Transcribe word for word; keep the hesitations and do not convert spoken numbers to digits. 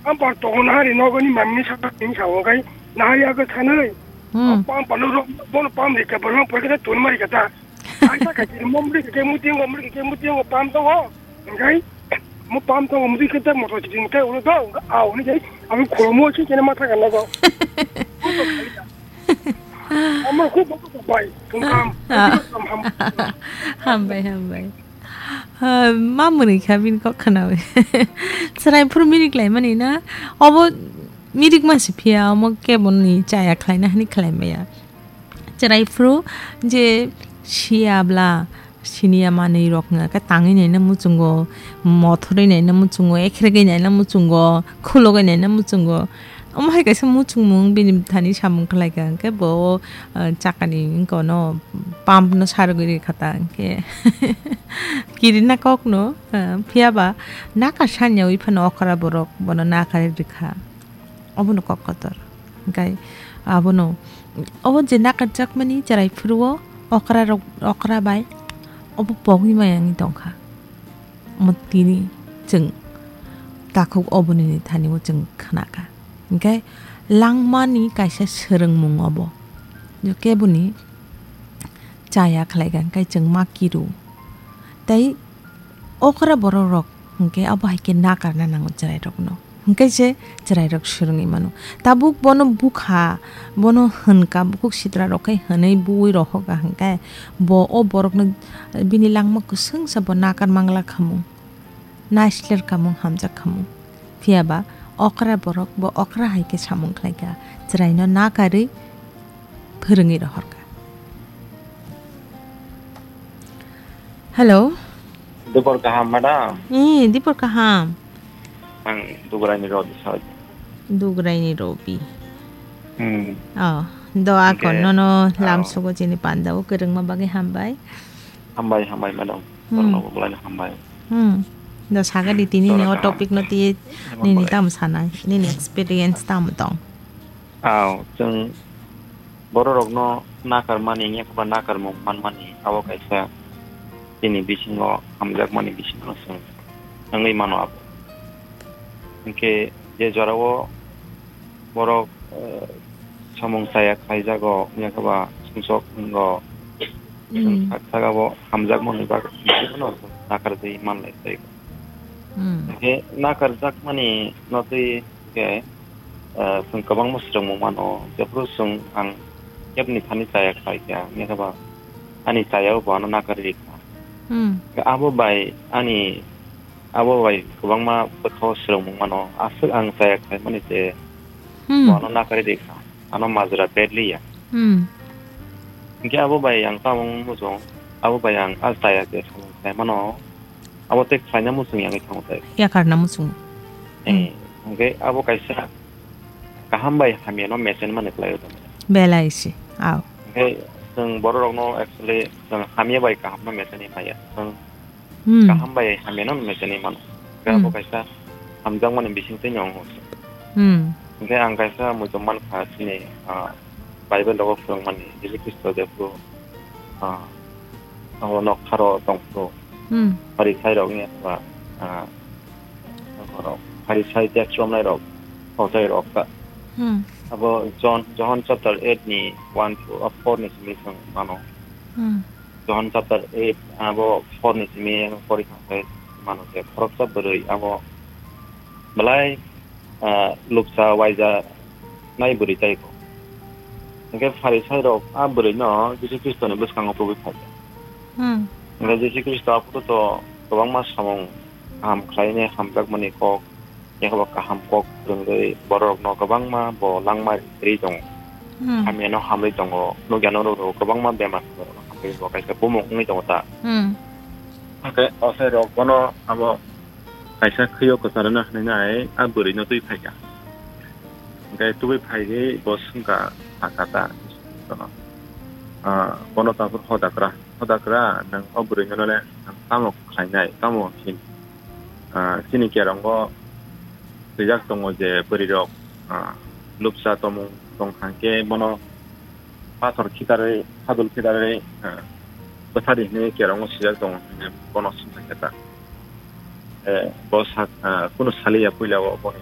Ampar tongo nahari nogoni mamni sakni sao kai nahari aga sanai. Hmm. Ampar no rok bono pam ri ka bono pore ka tun mari kata. Aisa ka kiri mom ri ke muti ngo mri ke muti ngo pam tongo. Kai mo pam tongo muti ke ta moto chini kai ulo do. Au ni kai. Ami khomo chi kene mata ka logo. Ama khu bo bai. Tung kam. Ah. Ham. Hambai, hambai. Ah, ma mwnwi kha bini kok khnawi. Chwrai phuru mirik laimani na? Obo mirik ma se phiya, omo keboni chaya khlaina hwnwi khlai maya. Chwrai phuru je siya bla, siniya manwi rok wngkha khe tangwi naina muchungo, mothorwi naina muchungo, ekhrwgwi naina muchungo, khulogwi naina muchungo. Omo hai kaisa muchungmung bini thani samung khlaikha, hwnkhe bo, ah, chakani wngkha no pump no sarogwi rikha ta, hwnkhe kirina kokno, ah, phiyaba nakar sanya wi phano okra borok bono nakarwi rikha. Obono kok kotor. Hwnkhe abono, obo je nakarjakmani chwrai phuru o okra rok, okra bai obo pogwi maya wngwi tongkha. Omo tini chwng takhuk oboni thani o chwng khnakha. Hwnkhe langmani kaisa swrwngmung obo. Je keboni chaya khlaikha, hwnkhe chwng ma kiru. Tei okra borok rok hwnkhe abo hai khe nakarna nango chwrai rokno. Hwnkhe se chwrai rok swrwngwi mano. Tabuk bono bukha, bono hwnkha, bukhuk sitra rok khe hwnwi buwi rohokha hwnkhe bo o borokno bini langma kwswngsa bo nakar mangla khamung. Naisler kamung hamjak khamung. Phiyaba okra borok bo okra hai khe samung khlaikha, chwraino nakarwi phwrwngwi rohorkha. Hello. Dupor kaham, madam. Eh, dipor kaham. Ang Dugraini Robi soi. Dugraini Robi. Hmm. Oh, do akon Hingke, nono oh. Lamsogo chini panda o kwrwngma bagwi hambai. Hambai, hambai, madam. Hmm. Torno bo belai hambai. Hmm. Do sagadi tini ni o Torno topic no ti Hambai. Nini tam sanai, nini experience tam tong. Aw, chwng bororokno nakarmani, yakba nakarmung manmani, abo kaisa chini bisingo hamjakmani bisingo chwng wngwi mano abo. Hwnkhe je jorao borok, eh, samung chaya khlaijago, yakba sumsok wngo, chwng Hmm. sak sak abo hamjakmani bagwi nakarjagwi manlai tei. Hmm. Hwnkhe nakarjakmani notwi khe, eh, chwng kwbangma swrwngmung mano, jephru chwng ang kebni thani chaya khlai kha, wngya khe ba ani chayao bo ano nakarwi rikha. Hmm. Abo bai ani, abo bai kwbangma bwkhao swrwngmung mano, aswk ang chaya khlaimani se Hmm. bo ano nakarwi rikha, ano majra bedliya. Hmm. Hwnkhe abo bai ang tamo muchung, abo bai ang a chaya je samung khlaimano, abo tei khlaina muchung yangwi thango tei. Yakarna muchung. Eh, Hmm. hwnkhe abo kaisa kaham bai hamyano mechanic mani khlai o tongmani. Belai se, aw. Hwnkhe chwng bororokno actually chwng hamya bai kahamno mechanic maya. Chwng Hmm. kaham bai hamyano mechanic mano. Hwnkhe abo Hmm. kaisa hamjakmani bisingtwi no wngo. Hmm. Hwnkhe ang kaisa muitom mankha chini, ah, Bible rogo phwrwngmani Jisu Khristo jephru, ah, abo nokharo tongphru. Hmm. Pharisai rokni ba, ah, borok, Pharisai tax romnai rok, Pharisai rok ta. Hmm. Abo John, John chapter eight ni one to, ah, four ni simi chwng mano. Hmm. John chapter eight, abo four ni simi pori thangkhe mano je khoroksa bwrwi abo belai, ah, luksa waija nai bwrwi tai kho. Hwnkhe Pharisai rok a bwrwi no Jisu Khristo ni bwskango tubui phai kha. Hmm. Hwnkhe Jisu Khristo aphuru to kwbangma samung kaham khlainai hamjakmani kok, yakaba kaham kok phwrwngwi bororokno kwbangma bo langma ri tongo. Hmm. Hamyano hamwi tongo, nukya norok kwbangma bemar hamwi bo kaisa bumung wngwi tongo ta. Hmm. Hwnkhe osai rok bono abo kaisa khwio kwcharwna hwnwi nai a bwrwino twi phaikha. Hwnkhe tubui phaiwi bo swngkha, sakha ta, ah, bono tabuk hoda kwra, hoda kwra, nwng o bwrwino le nwng tamo khlainai, tamo hin? Ah, chini kerongo swijak tongo je bwrwirok, ah, lupsa tomung tongkha hwnkhe bono pathor khitarwi, sadul khitarwi, ah, bwthadi hinwi kerongo swijak tongo hinwi bono swngkha khe ta. Eh, bo sak, ah, kunu saliya puila o boni